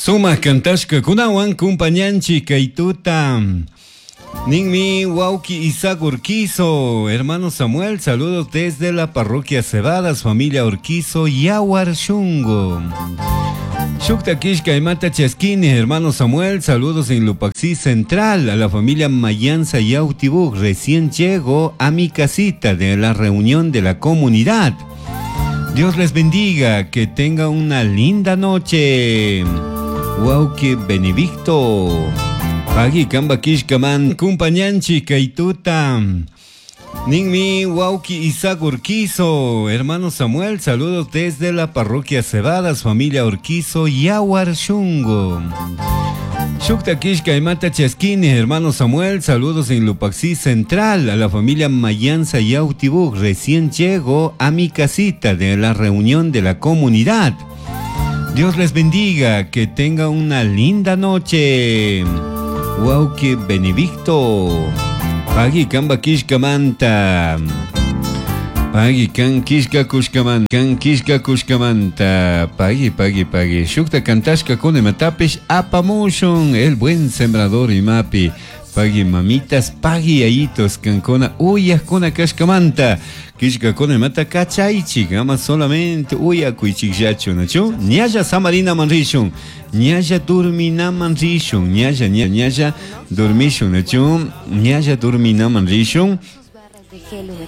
Sumak kantashkakunawan kumpañanchik kay tuta. Ninmi wawki Isaac Urquizo, hermano Samuel, saludos desde la parroquia Cebadas, familia Urquizo, Yawar Shungo. Shukta kishka imata chaskini, hermano Samuel, saludos en Lupaxí Central, a la familia Mayanza Yautibuk, recién llego a mi casita de la reunión de la comunidad. Dios les bendiga, que tenga una linda noche. Wawki Benedicto. Pagui kamba kishkaman kumpañanchik kay tuta. Ninmi wawki Isaac Urquizo, hermano Samuel, saludos desde la parroquia Cebadas, familia Urquizo, Yawar Shungo. Shukta kishka imata chaskini, hermano Samuel, saludos en Lupaxí Central, a la familia Mayanza Yautibuk, recién llego a mi casita de la reunión de la comunidad. Dios les bendiga, que tenga una linda noche. Wawki Benedicto. Pagui kamba kishkamanta. Pagui kan kishka kushkamanta. Kan kishka kushkamanta. Pagui, pagui, pagui. Shukta kantashka kuna imatapish apamushun. El buen sembrador imapi. Pagui mamitas, pagui yayitos kankuna uyajkuna kashkamanta. Kishkakuna imata kachaychik, ama solamente uyakuychikllachu, nachu? Ñalla samarinaman rishun, ñalla durminaman rishun, ñalla, ñalla dormishun, nachu? Ñalla durminaman rishun.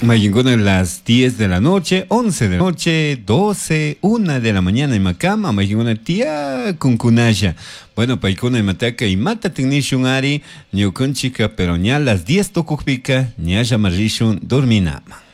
Mayinkuna las 10 de la noche, 11 de la noche, 12, 1 de la mañana imakama, mayinkuna tía kunkunalla. Bueno, paykuna imataka imata tinishun ari, ñukanchika, pero ña las 10 tukukpika, ñalla marishun dorminama.